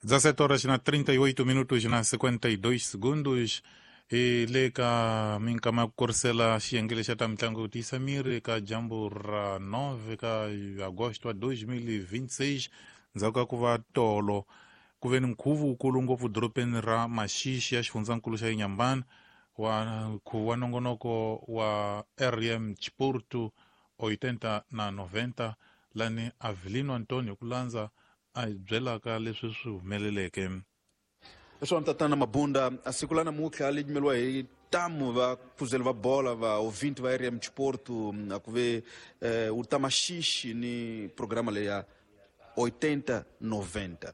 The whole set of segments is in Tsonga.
17 horas na 38 minutos na 52 segundos. Hi le ka minkama ya ku korisela xiyenge lexa ta mitlangu yo tiyisa miri eka dyambu ra 9 ka agosto wa 2026, ndzhaku ka ku va tolo ku ve ni nkhuvo wukulu ngopfu dorobeni ra Maxixi ya xifundzankulu xa Inhambane, wa nkhuvo wa nongonoko wa RM Chiporto 80 na 90, lani Avelino Antonio hi ku landza a hi byelaka leswi swi humeleleke. Leswaku tatana Mabunda, a siku la namuntlha li yimeriwa hi tamu va khuzeli va bola va ovinti va RM Chiporto, a ku ve u ta Maxixi ni programa leyi ya 80 90.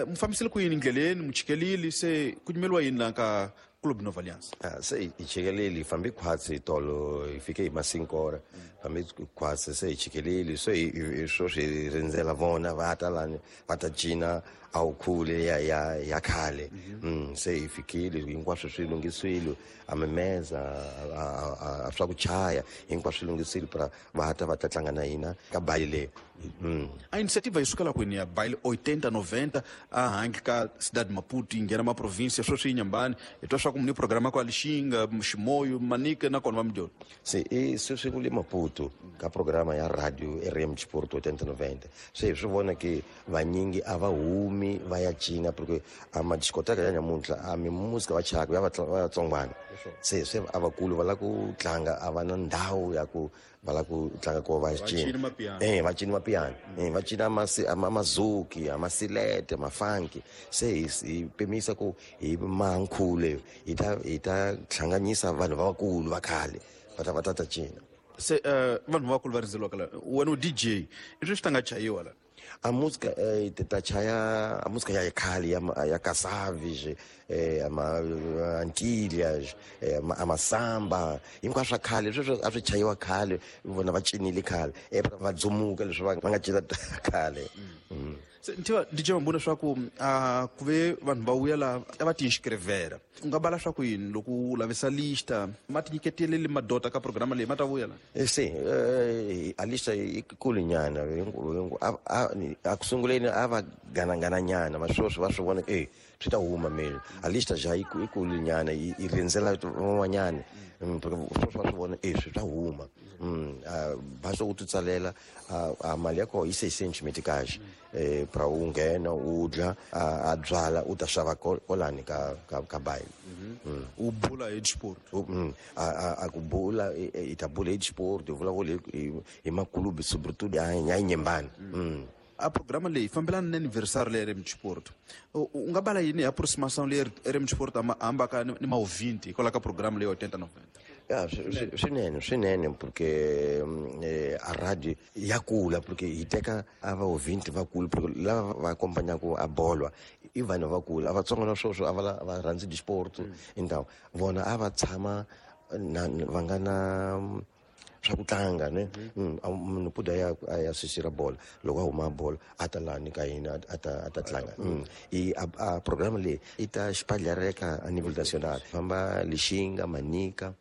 Mu fambisile ku yini ndleleni, mu chikelile, se ku yimeriwa yini la ka Club Nova Aliança? Se hi chikelile, hi fambe khwatsi tolo, hi fike hi masinkora, fambe khwatsi, se hi chikelile, se hi sweswi hi rindzela vona va ta lani va ta cina a wu khule ya khale. Se hi fikile, hinkwaswo swi lunghisiwile, a mimeza, a swa ku chaya hinkwaswo swi lunghisile, pra va ta va ta tlanga na hina ka bayi leyi. A iniciativa yi sukela kwini ya baile 80 90 a handle ka cidade Maputo, yi nghena ma província, sweswi yi Nyambani, hi twa swa ku ni programa kwa Lixinga, Ximoyo, Manica na kona va Mdyoni? Se i sweswi ku le Maputo ka programa ya radio RM Chiporto 80 90, se hi swi vona ke vanyingi a va humi va ya cina, porque a madiscoteka ya nyamuntlha a mimusika va chayaka ya vatsongwana, se a vakulu va lava ku tlanga, a va na ndhawu ya ku va lava ku tlanga ko va cina. Va cina mapiano, va cina amazuki, amasilete, mafanki. Se hi pimisa ku hi mankhule hi ta hlanganyisa vanhu lavakulu va khale va ta cina. Se vanhu vakulu va rindzeliwaka la, wena u DJ, i swi swi ta nga chayiwa la? A música ta chaya a música ya khale ya Casaves, ama Antilhas, amasamba, hinkwaswo swa khale sweswo a swi chayiwa khale, vona va cinile khale, va dzumuka leswi va nga cina khale. Se ntiva DJ Mabunda, swa ku a ku ve vanhu va vuya la a va ti inscrevera, u nga bala swa ku yini loko u lavisa lista ma ti nyiketeleli madota ka programa leyi ma ta vuya la? Se a lista yi kulu nyana, a ku sunguleni a va ganangana nyana, ma sweswi va swi vona swi ta huma mele. A lista ja yi kulu nyana, yi rindzela van'wanyana, sweswi va swi vona swi ta huma. Basta u ti tsalela, a mali ya kona yi 600 meticais pra u nghena, u dya, a byala u ta xava kolani ka bayi. U bula hi sport? A ku bula, hi ta bula hi sport, hi vulavula hi makulubi, sobretudo ya Nyembani. A programa leyi fambelana ni anniversário leyi RM Sport, u nga bala yini hi aproximação leyi RM Sport hambaka ni ma-20 hikwalaho ka programa leyi 80 90? Ya, swinene swinene, porque a radio ya kula, porque hi teka a va ouvinte vakulu, porque lava va acompanhaka a bolwa i vanhu vakulu, a vatsongo na sweswo a va rhandzi disport, então vona a va tshama na va nga na swa ku tlanga ne. Munhu puda ya a ya sisira bola, loko a huma bola a ta lani ka hina a ta tlanga. I a programa leyi i ta xipalhareka a nível nacional, famba Lixinga, Manica,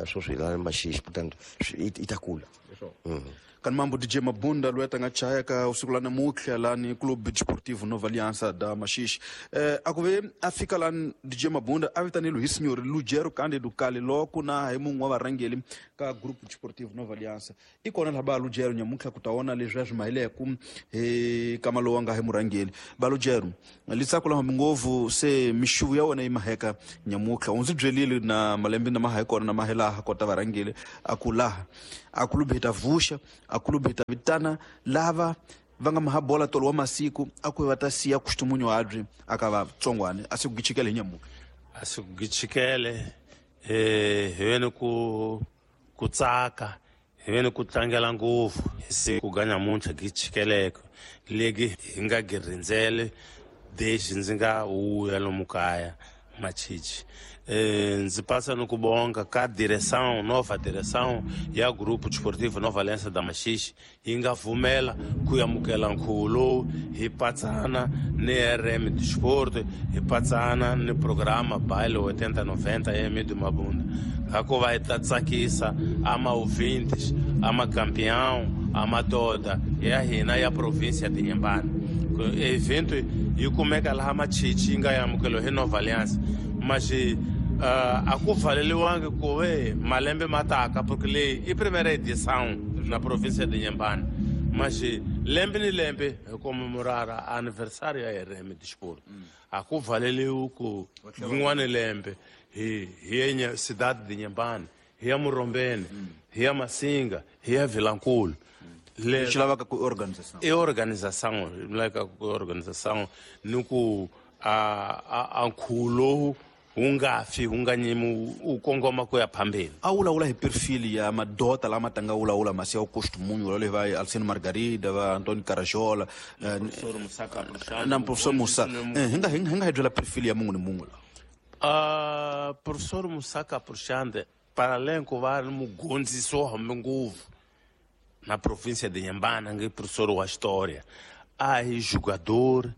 sweswi hi la Maxixi, portanto i ta kula. Kani mambo DJ Mabunda loyi a tanga chaya ka usiku la namuntlha lani Clube Desportivo Nova Aliança da Maxixe. A ku ve a fika lani DJ Mabunda a vitaneliwe hi senhor Lugero Cândido Kale loko na hi mun'we wa varhangeli ka Grupo Desportivo Nova Aliança, i kona laha ba Lugero nyamuntlha ku ta vona leswi a swi mahileku hi kama lowu a nga hi murhangeli ba Lugero litsako lama ngopfu. Se mixuvu ya wena yi maheka nyamuntlha, u ndzi byelile na malembe na maha hi kona na mahelaha kota varhangeli a ku laha a kulubi hi ta vuxa, a kulubi hi ta vitana lava va nga maha bola tolo wa masiku, a ku va ta siya kustumunyo habyi aka vatsongwane, a si ku gichikele hi nyamuntlha. A si ku gichikele, hi veni ku tsaka, hi veni ku tlangela ngopfu hi siku ga nyamuntlha gichikeleke legi hi nga gi rindzele desde ndzi nga wuya lomu kaya Machichi. Ndzi passa no kubonga ka direção, nova direção ya Grupo Desportivo Nova Aliança da Maxixe, yi nga vumela ku amukela nkhuvo lowu, hi patsana ni RM Disport, hi patsana ni programa Baile 80 90 ya Emidio Mabunda, ngakuva hi ta tsakisa ama-ouvintes, ama-campeão, amadoda ya hina ya província de Inhambane. Evento yi kumeka laha Machichi yi nga amukeliwa hi Nova Aliança, mas a ku pfaleliwangi ku ve malembe ma taka, porque leyi i primeira edição na província de Inhambane, mas lembe ni lembe hi comemorara aniversário ya RM Desporto. A ku pfaleliwi ku rin'wana lembe hi hi cidade de Inhambane, hi ya Murombeni, hi ya Masinga, hi ya Vilankulu. Lexi lavaka ku organização. I organização, lavaka ku organização ni ku a nkhuvo lowu wu nga fi, wu nga nyimi, wu kongoma ku ya phambeni. A vulavula hi perfil ya madota lama tanga vulavula masi ya costumunho loyi va Alcino Margarida, va Antônio Carajola, na professor Musa. Hi nga hi byela perfil ya munhu ni munhu la. Professor Musa Caprichande, para além ku va ri mugondzisi wo hambi ngopfu na província de Inhambane, nge professor wa história, a hi jogador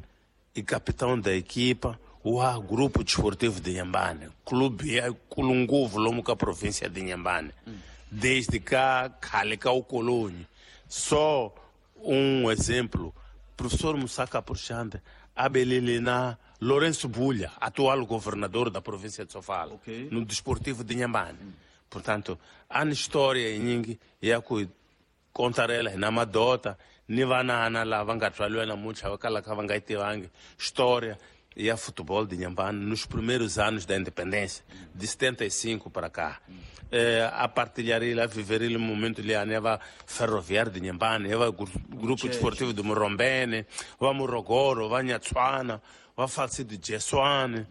e capitão da equipa wa Grupo Desportivo de Inhambane, clube ya kulu ngopfu lomu ka província de Inhambane, desde ka khale ka ukoloni. Só exemplo, professor Musa Caprichande abelele na Lourenço Bulha, atual governador da província de Sofala, no Desportivo de Inhambane. Portanto, há história nyingi ya ku contarela hi na madota ni vanana lava nga tswaliwa namuntlha va kalaka va nga yi tivangi história ya futebol de Inhambane nos primeiros anos da independência, de 75 para cá. A partilharia, a viver o momento ali, va Ferroviário de Inhambane, va Grupo Desportivo de Murombene, va Morogoro, va Nhatswana, va Falcido de Jessuane,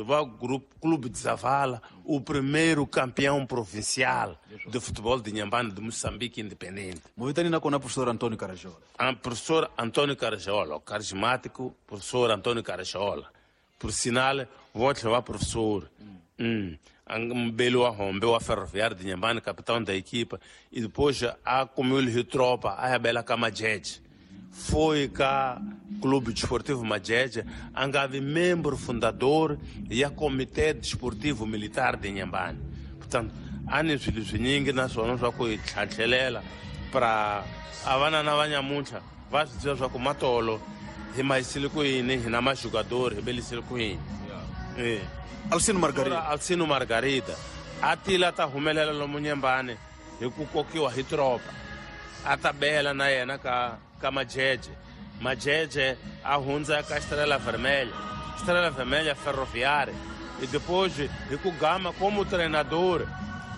va Grupo Clube de Zavala, o primeiro campeão provincial de futebol de Inhambane de Moçambique independente. Movitani na kona professor Antônio Carajola. Professor Antônio Carajola, o carismático professor Antônio Carajola. Por sinal, vou te levar professor. Mbelo a rombeu a Ferroviário de Inhambane, capitão da equipa, e depois a comeu tropa, a Bela Camajeje. Foi cá Clube Desportivo Majeje, angave membro fundador e a Comitê Desportivo Militar de Inhambane. Portanto, há swilo swinyingi naswona swa ku hi tlhantlhelela para a vanana va nyamuntlha va swi tiva swa ku matolo hi mahisile ku yini, hi na majugador hi belisile ku yini. Alcino Margarida. Alcino Margarida a tila ta humelela lomu Inhambane hi ku kokiwa hi tropa, a ta bela na yena ka Majeje. Majeje a hundza ka Estrela Vermelha, Estrela Vermelha Ferroviária, e depois hi ku gama como treinador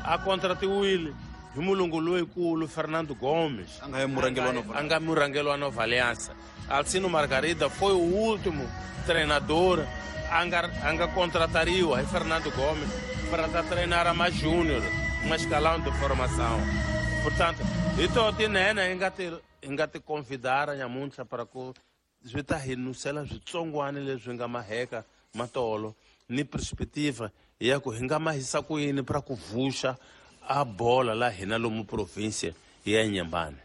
a contratiwile hi mulungu loyikulu Fernando Gomes, a nga murhangeri wa Nova Aliança. Alcino Margarida foi o último treinador a nga contratariwa hi Fernando Gomes para ta treinar a mais júnior, uma escalão de formação. Portanto, ito tinene hi nga ti convidar nyamuntlha para ku swi ta hi nusela switsongwana leswi nga maheka matolo ni perspectiva ya ku hi nga mahisa ku yini para ku vuxa a bola la hina lomu província ya Inhambane.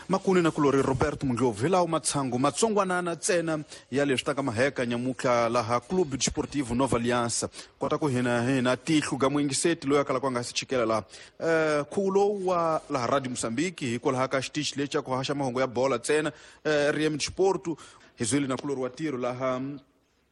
Makuni na kulori Roberto Mundlovu hi lawo matshangu matsongwanana ntsena ya leswi taka maheka nyamuntlha laha Clube Desportivo Nova Aliança. Kota ku hina tihlu ga muyingiseti loyi a kalaka a nga si chikela laha khuvo lowu wa laha Radio Moçambique hikwalaho ka xitichi lexi xa ku haxa mahungu ya bola ntsena RM Desporto hi zwile na kulori wa tiro laha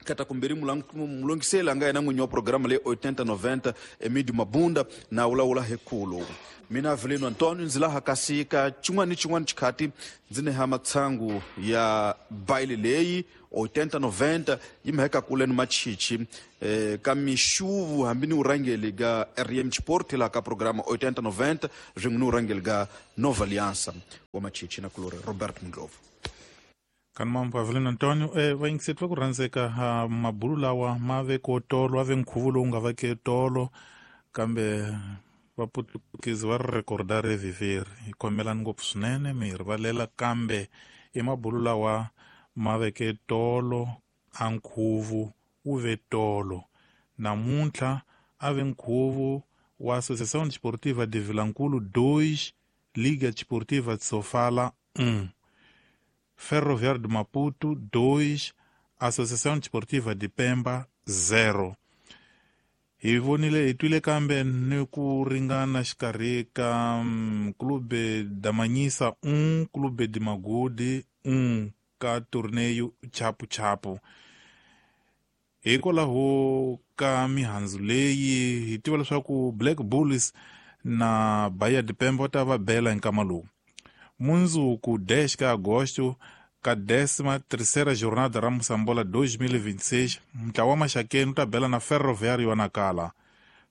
kata kumbiri mulongiseli a nga yena n'winyi wa programa leyi 8090 Emídio Mabunda na vulavula hi khuvo. Mina Avelino Antônio ndzi laha kasi ka xin'wana ni xin'wana xikhati ndzi neha matshangu ya baile leyi 8090 yi mheka kule ni machichi ka mixuvu hambi ni urhangeli ga RM Sport laha ka programa 8090 swin'we ni urhangeli ga Nova Aliança wa machichi na kulori Robert Mundlovu. Kanimambo Avelino Antônio, vayingiseti va ku rhandzeka mabulu lawa ma ve ko tolo, a ve nkhuvo lowu nga va ke tolo, kambe vaputukezi va ri rekorda reviveri. Hi khomelani ngopfu swinene, mi hi rivalela, kambe i mabulu lawa ma veke tolo, a nkhuvo wu ve tolo. Namuntlha a ve nkhuvo wa Associação Desportiva de Vilankulu 2, Liga Desportiva de Sofala 1. Ferroviário de Maputo 2, Associação Desportiva de Pemba 0. Hi vonile hi twile kambe ni ku ringana xikarhi ka Clube da Manhissa 1, Clube de Magude 1. ka torneio chapu chapu. Hikwalaho ka mihandzu leyi hi tiva leswaku Black Bulls na Bahia de Pemba va ta va bela hi nkama lowu. Mundzuku 10 ka Agosto ka 13ª jornada ra Moçambola 2026, ntlawa wa Maxakeni wu ta bela na Ferroviário wa Nacala.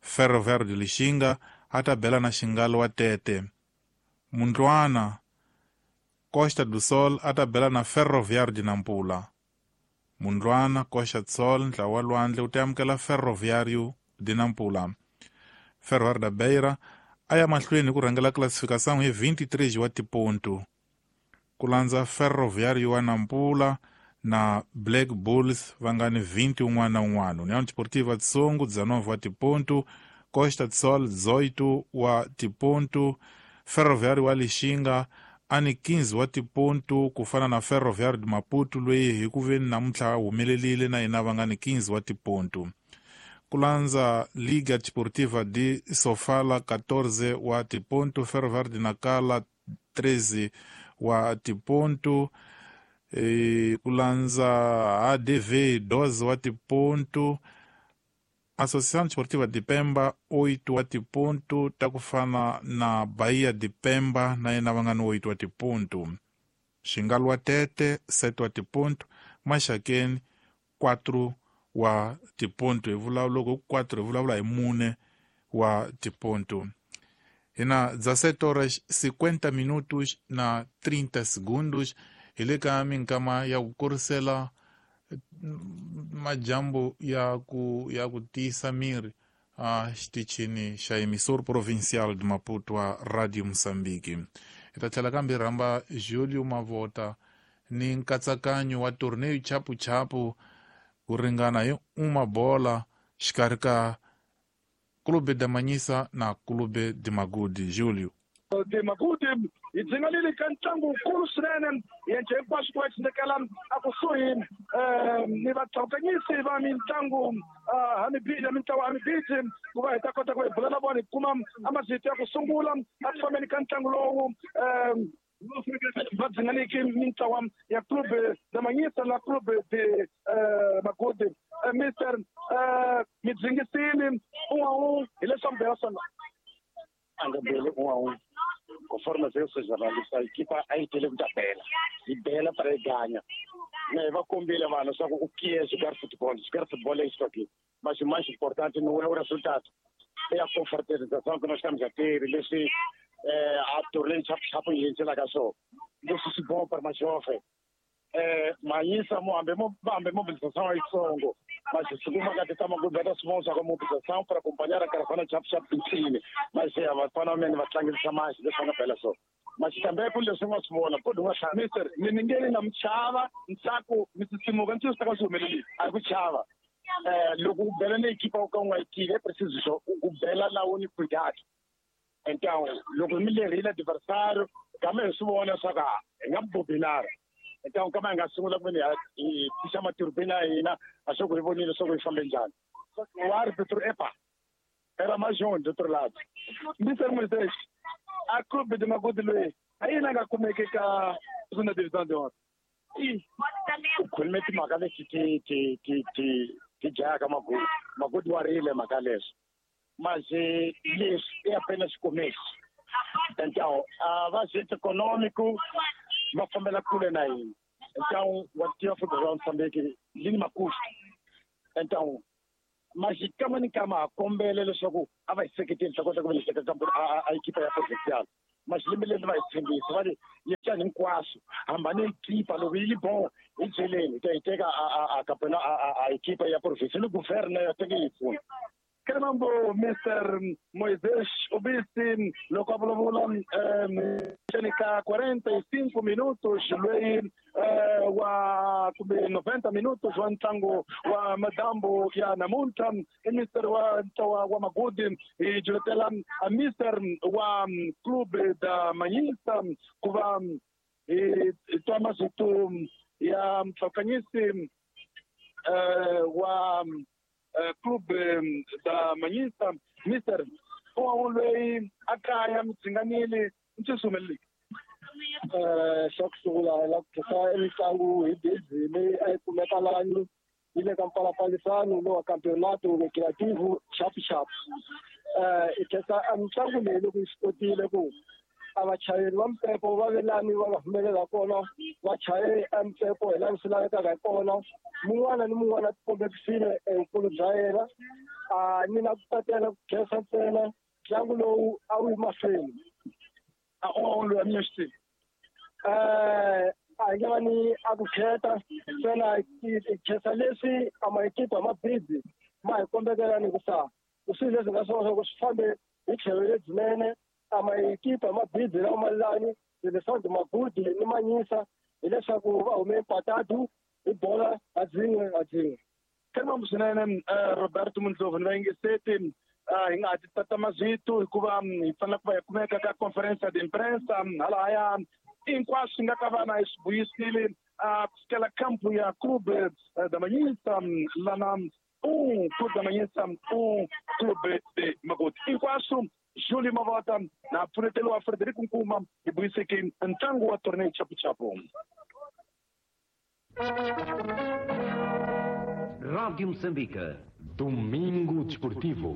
Ferroviário de Lixinga a ta bela na Xingalo wa Tete. Mundlwana Costa do Sol a ta bela na Ferroviário de Nampula. Mundlwana Costa do Sol ntlawa wa lwandle wu ta amukela Ferroviário de Nampula. Ferroviário da Beira a ya mahlweni hi ku rhangela classificação hi 23 wa tiponto. Ku landza Ferroviário wa Nampula na Black Bulls va nga ni 20 un'wana na un'wana. União Desportiva de Songo 19 wa tiponto, Costa do Sol 18 wa tiponto, Ferroviário wa Lixinga a ni 15 wa tiponto ku fana na Ferroviário de Maputo loyi hi ku veni namuntlha humelerile na yena va nga ni 15 wa tiponto. Ku landza Liga Desportiva de Sofala 14 wa tiponto, Ferroviário de Nacala 13 wa tiponto, ku landza ADV 12 wa tiponto, Associação Desportiva de Pemba 8 wa tiponto, ta ku fana na Bahia de Pemba na yena va nga ni 8 wa tiponto. Xingalo wa Tete 7 wa tiponto, Maxakeni 4 wa tiponto. Hi vulavula loko 4 hi vulavula hi mune wa tiponto. Hi na 17 horas 50 minutos na 30 segundos hi le ka minkama ya ku kurisela majambu ya ku tiyisa miri a xitichini xa emissor provincial de Maputo wa Radio Mozambique. Hi ta tlhela kambe rhamba Julio Mavota ni nkatsakanyo wa torneio chapu chapu ku ringana hi uma bola xikarhi ka Clube de Manhissa na Clube de Magude. Julio de Magude hi dzinganile ka ntlangu wukulu swinene yendle hinkwaswo ku va tshindekela a kusuhi ni vatlhawukanyisi va mitlangu hamibili ya mintlawa hamibili ku va hi ta kota ku hi bula na vona hi kuma a mazito ya ku sungula a ku fambeni ka ntlangu lowu va dzinganiki mintlawa ya Clube de Manhissa na Clube de Magude. Mister mi dzingisile un'we hi leswi mi bela swona. A nga beli un'we conforme eu sou jornalista, a equipa a yi tele ku ta bela yi bela para yi ganya na hi va kombile vanhu swa ku o que é jogar futebol. Jogar futebol é isso aqui, mas o mais importante não é o resultado, é a confraternização que nós estamos a ter, leswi a torneio chapu yi endzelaka swona leswi swi bom para mais jovem. Manhissa hambi mobilização é yitsongo, mas se kuma ka ta Magude va ta swi vona swa ku mobilização para acompanhar a caravana chapu chapu ntsini, mas vafana va mene va tlangisa masi leswi va nga bela swona. Mas também ku leswi nga swi vona ku nga Mister mi ni nge na mi chava ntsako mi sisimuka ntsho swi ta ka swi humelelile. A ku chava loko u bela ni equipa u ka u nga yi tivi, é preciso só u bela lawo ni cuidado. Então loko mi lerile adversário kambe hi swi vona swa ku hi nga bobinara. Então kama hi nga sungula ku veni hi pfuxa maturbina ya hina a swa ku hi vonile swa ku hi fambe njhani. O árbitro epa era mais um do outro lado. Mister Moisés, a Clube de Magude loyi a yini a nga kumeki ka segunda divisão de honra? U khulume timhaka leti ti ti ti ti dlayaka Magude. Magude wa rile mhaka leswi, mas leswi i apenas começo. Então a vazete econômico va fambela kule na hina. Então wa tiva futebol wa Mozambique yi ni makustu. Então mas kama ni kama ha kombele leswaku a va hi seketeli ta kota ku va hi seketela a equipa ya provincial. Mas lembe leri va hi tshembisa va ri yetani hinkwaswo hambane equipa loko yi li bon hi byeleni hi ta yi teka a campionato a equipa ya provincial ni governo ya teke yi pfuna. Caramba, Mr. Moisés Obisi loko a vulavula ka 45 minutos loyi wa kumbe 90 minutos wa ntlangu wa madambu ya namuntlha i Mr. wa ntlawa wa Magude hi juletela Mr. wa Clube da Manhissa ku va hi twa mazito ya mtlhawukanyisi wa Clube da Manhissa. Mister un'we loyi a kaya mi dzinganile ntswi swi humelelile. Xa ku sungula hi lava ku khensa mitlangu hi bizi leyi a yi kumeka lani yi le ka mpalapalisano lowa campeonato recreativo chapuchapu. Hi khensa a mitlangu leyi loko yi swi kotile ku a vachayeri va mpepo va ve lani va nga humelela kona, va chaye a mpepo hi lani swi lavekaka hi kona. Mun'wana ni mun'wana a tikombekisile evukulu bya yena. A ni na ku tatela ku khensa ntsena ntlangu lowu a wu yi mahlweni. A u loyi a mi xi A hi nge va ni a ku kheta ntsena, hi khensa leswi a maekipa ma bizi ma hi kombekela ni ku sa swilo leswi nga swona swa ku swi fambe hi tlhelo lebyinene. A maekipa ma bizi lawa ma lani leswaku Magudi ni Manyisa hileswaku va hume empatado hi bola ha dzin'we ha dzin'we. Khensa swinene, Roberto Mundlovu ni vayingiseti. Hi nga ha ti tata mazwito hikuva hi fanele ku va hi kumeka ka conferência de imprensa halahaya, hinkwaswo swi nga ka vana hi swi vuyisile ku sukela campo ya Clube da Manyisa lana, Clube da Manyisa Clube de Magoti. Hinkwaswo Julio Mavota na pfunetelo wa Frederico Nkuma hi vuyiseke ntlangu wa torneo chapuchapu. Rádio Moçambique. Domingo Desportivo.